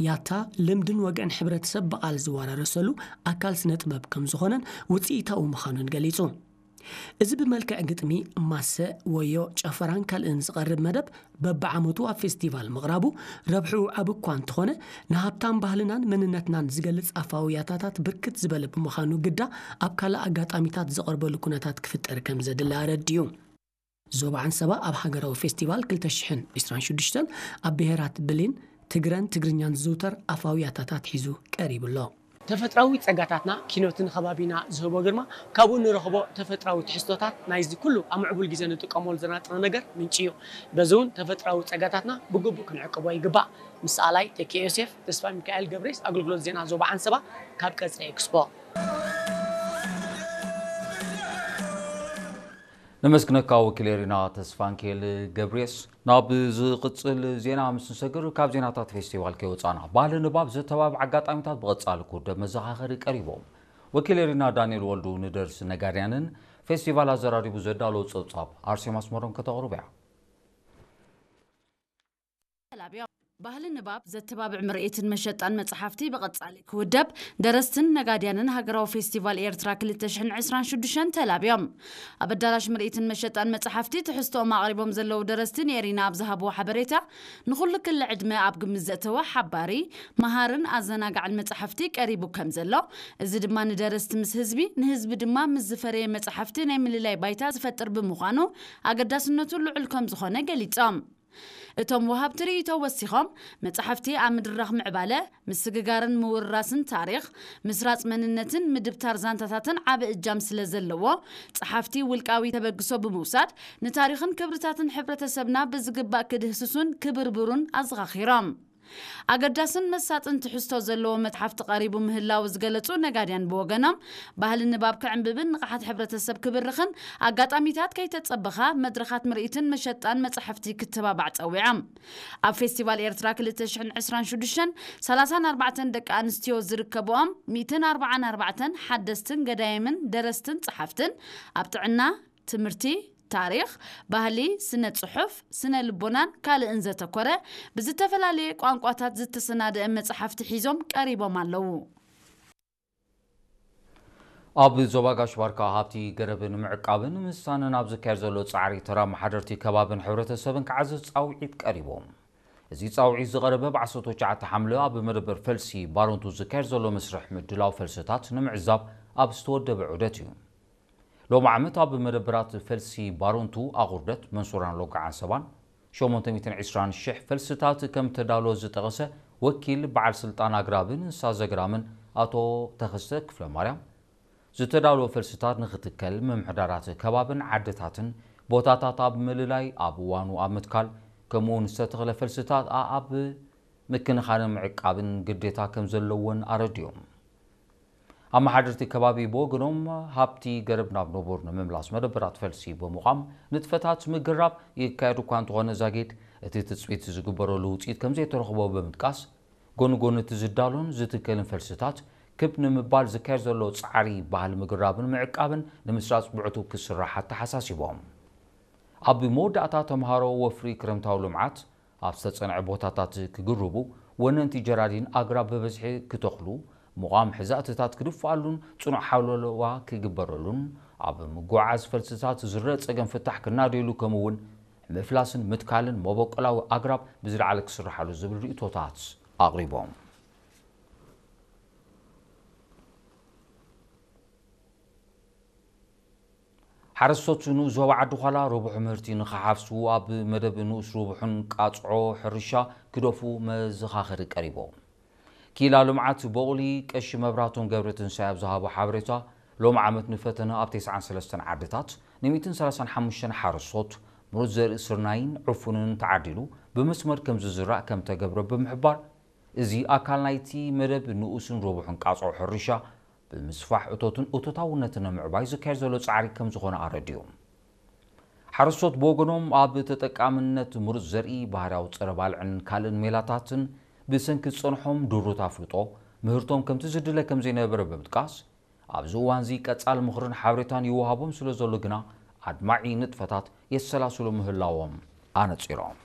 ያታ ልምድን ወግዕን ሕብረተሰብ ብቓል ዝወራረሰሉ ኣካል ስነ ጥበብ ከም ዝኾነን ውፅኢታዊ ምዃኑን ገሊጹ። እዚ ብመልክዕ ግጥሚ፣ ማሰ፣ ወዮ፣ ጨፈራን ካልእን ዝቐርብ መደብ በብዓመቱ ኣብ ፌስቲቫል ምቕራቡ ረብሕኡ ዓቢ እኳ እንተኾነ፣ ንሃብታም ባህልናን መንነትናን ዝገልጽ ኣፋዊ ያታታት ብርክት ዝበለ ብምዃኑ ግዳ ኣብ ካልእ ኣጋጣሚታት ዝቐርበሉ ኩነታት ክፍጠር ከም ዘድሊ ኣረዲኡ። ዞባ ዓንሰባ ኣብ ሃገራዊ ፌስቲቫል ክልተ ሽሕን ዕስራን ሽዱሽተን ኣብ ብሄራት ብሌን፣ ትግረን ትግርኛን ዝዝውተር ኣፋዊ ያታታት ሒዙ ቀሪቡ ኣሎ። ተፈጥራዊ ጸጋታትና፣ ኪኖትን ከባቢና ዝህቦ ግርማ፣ ካብኡ ንረኽቦ ተፈጥራዊ ትሕዝቶታት ናይዚ ኩሉ ኣብ ምዕቡል ግዜ ንጥቀመሉ ዘለና ጥረ ነገር ምንጪ እዩ። በዚ እውን ተፈጥራዊ ጸጋታትና ብግቡእ ክንዕቅቦ ይግባእ። ምስ ኣላይ ተኪኤ ዮሴፍ፣ ተስፋ ሚካኤል ገብሬስ፣ ኣገልግሎት ዜና ዞባ ዓንሰባ ካብ ቀጽሪ ኤክስፖ። ነመስግነካ ወኪል ኤሪና ተስፋንኬል ገብሬስ። ናብ ዝቕጽል ዜና ምስ ንሰግር፣ ካብ ዜናታት ፌስቲቫል ከይወጻና፣ ባህሊ ንባብ ዘተባብዕ ኣጋጣሚታት ብቐጻሊ ክውደብ መዘኻኸሪ ቀሪቦም። ወኪል ኤሪና ዳንኤል ወልዱ ንደርሲ ነጋድያንን ፌስቲቫል ኣዘራሪቡ ዘዳለዎ ጸብጻብ ኣርሴማ ኣስመሮም ከተቕርብ እያ። ተላብዮም። ባህሊ ንባብ ዘተባብዕ ምርኢትን መሸጣን መጽሓፍቲ ብቐጻሊ ክውደብ፣ ደረስትን ነጋድያንን ሃገራዊ ፌስቲቫል ኤርትራ ክልተ ሽሕን ዕስራን ሽዱሽተን ተላብዮም። ኣብ ኣዳራሽ ምርኢትን መሸጣን መጽሓፍቲ ትሕዝቶኦም ኣቕሪቦም ዘለዉ ደረስቲ ንኤሪና ኣብ ዝሃብዎ ሓበሬታ፣ ንኹሉ ክሊ ዕድመ ኣብ ግምት ዘእተወ ሓባሪ፣ መሃርን ኣዘናጋዕን መጽሓፍቲ ቀሪቡ ከም ዘሎ፣ እዚ ድማ ንደረስቲ ምስ ህዝቢ፣ ንህዝቢ ድማ ምስ ዝፈረየ መጽሓፍቲ ናይ ምልላይ ባይታ ዝፈጥር ብምዃኑ ኣገዳስነቱ ልዑል ከም ዝኾነ ገሊጾም። እቶም ወሃብቲ ርእይቶ ወሲኾም፣ መጻሕፍቲ ኣብ ምድራኽ ምዕባለ፣ ምስግጋርን ምውርራስን ታሪኽ፣ ምስራጽ መንነትን ምድብታር ዛንታታትን ዓቢ እጃም ስለ ዘለዎ፣ ጸሓፍቲ ውልቃዊ ተበግሶ ብምውሳድ፣ ንታሪኽን ክብርታትን ሕብረተሰብና ብዝግባእ ክድህስሱን ክብርብሩን ኣዘኻኺሮም። ኣገዳስን መሳጥን ትሕዝቶ ዘለዎ መጽሓፍቲ ቀሪቡ ምህላው ዝገለጹ ነጋድያን ብወገኖም፣ ባህሊ ንባብ ክዕንብብን ንቕሓት ሕብረተሰብ ክብርኽን ኣጋጣሚታት ከይተጸበኻ መድረኻት ምርኢትን መሸጣን መጻሕፍቲ ክተባባዕ ጸዊዖም። ኣብ ፌስቲቫል ኤርትራ ክልተ ሽሕን ዕስራን ሽዱሽተን፣ ሰላሳን ኣርባዕተን ደቂ ኣንስትዮ ዝርከብኦም፣ ሚእትን ኣርባዓን ኣርባዕተን ሓደስትን ገዳይምን ደረስትን ጸሓፍትን ኣብ ጥዕና፣ ትምህርቲ፣ ታሪኽ፣ ባህሊ፣ ስነ ጽሑፍ፣ ስነ ልቦናን ካልእን ዘተኮረ ብዝተፈላለየ ቋንቋታት ዝተሰናደአ መጽሓፍቲ ሒዞም ቀሪቦም ኣለዉ። ኣብ ዞባ ጋሽ ባርካ ሃብቲ ገረብ ንምዕቃብን ምስሳንን ኣብ ዝካየድ ዘሎ ጻዕሪ፣ ተራ ኣመሓደርቲ ከባብን ሕብረተሰብን ክዓዝዝ ጻውዒት ቀሪቦም። እዚ ጻውዒት ዝቐረበ ብ ዓሰርተ ትሽዓተ ሓምለ ኣብ መደበር ፈልሲ ባሮንቱ ዝካየድ ዘሎ መስርሕ ምድላው ፈልስታት ንምዕዛብ ኣብ ዝተወደበ ዑደት እዩ። ሎሚ ዓመት ኣብ መደበራት ፈልሲ ባሮንቱ፣ ኣቑርደት፣ መንሱራን ሎጋዓን ሰባን ሸሞንተ ሚእትን ዕስራን ሽሕ ፈልስታት ከም ተዳሎ ዝጠቐሰ ወኪል በዓል ስልጣን ኣግራብን እንስሳ ዘግራምን ኣቶ ተኸስተ ክፍለ ማርያም፣ ዝተዳሎ ፈልስታት ንኽትከል፣ ምምሕዳራት ከባብን ዓድታትን ቦታታት ኣብ ምልላይ፣ ኣብ እዋኑ ኣብ ምትካል፣ ከምኡውን ዝተተኽለ ፈልስታት ኣኣብ ምክንኻንን ምዕቃብን ግዴታ ከም ዘለዎን ኣረዲኦም። ኣመሓደርቲ ከባቢ ብወገኖም፣ ሃብቲ ገረብ ናብ ንቡር ንምምላስ መደበራት ፈልሲ ብምቋም ንጥፈታት ምግራብ ይካየድ እኳ እንተኾነ፣ ዛጊድ እቲ ትጽቢት ዝግበረሉ ውጽኢት ከም ዘይተረኽቦ ብምጥቃስ፣ ጎኒ ጎኒ እቲ ዝዳሎን ዝትከልን ፈልስታት ክብ ንምባል ዝካየድ ዘሎ ጻዕሪ፣ ባህሊ ምግራብን ምዕቃብን ንምስራጽ ብዕቱብ ክስራሕ ኣተሓሳሲቦም። ኣብ መወዳእታ፣ ተምሃሮ ወፍሪ ክረምታዊ ልምዓት ኣብ ዝተጸንዐ ቦታታት ክግርቡ፣ ወነንቲ ጀራዲን ኣግራብ ብብዝሒ ክተኽሉ፣ ምቋም ሕዛእትታት ክድፍኣሉን ጽኑዕ ሓለዋ ክግበረሉን፣ ኣብ ምጉዕዓዝ ፈልስታት ዝረአ ጸገም ፍታሕ ክናደየሉ፣ ከምኡ'ውን ምፍላስን ምትካልን መበቆላዊ ኣግራብ ብዝለዓለ ክስርሓሉ ዝብል ርእይቶታት ኣቕሪቦም። ሓረስቶት ንኡስ ዞባ ዓዲ ዃላ ረቡሕ ምህርቲ ንኽሓፍሱ ኣብ መደብ ንኡስ ረቡሕን ቃጽዖ ሕርሻ ክደፉ መዘኻኸሪ ቀሪቦም። ኪላ ልምዓት ቦቕሊ ቀሺ መብራህቶም ገብረትንሳኤ ኣብ ዝሃቦ ሓበሬታ፣ ሎም ዓመት ንፈተነ ኣብ ተስዓን ሰለስተን ዓድታት ንሚእትን ሰላሳን ሓሙሽተን ሓረስቶት ምሩጽ ዘርኢ ስርናይን ዕፉንን ተዓዲሉ ብመስመር ከም ዝዝራእ ከም ተገብረ ብምሕባር፣ እዚ ኣካል ናይቲ መደብ ንኡስን ረቡሕን ቃጽዖ ሕርሻ ብምስፋሕ እቶትን እቶታውነትን ንምዕባይ ዝካየድ ዘሎ ጻዕሪ ከም ዝኾነ ኣረዲኦም። ሓረስቶት ብወገኖም፣ ኣብ ተጠቃምነት ምሩጽ ዘርኢ፣ ባህርያዊ ጸረ ባልዕን ካልእን ሜላታትን ብሰንኪ ዝጸንሖም ድሩት ኣፍልጦ፣ ምህርቶም ከምቲ ዝድለ ከም ዘይነበረ ብምጥቃስ፣ ኣብዚ እዋንዚ ቀጻሊ ምኽርን ሓበሬታን ይወሃቦም ስለ ዘሎ ግና፣ ኣድማዒ ንጥፈታት የሰላስሉ ምህላዎም ኣነጺሮም።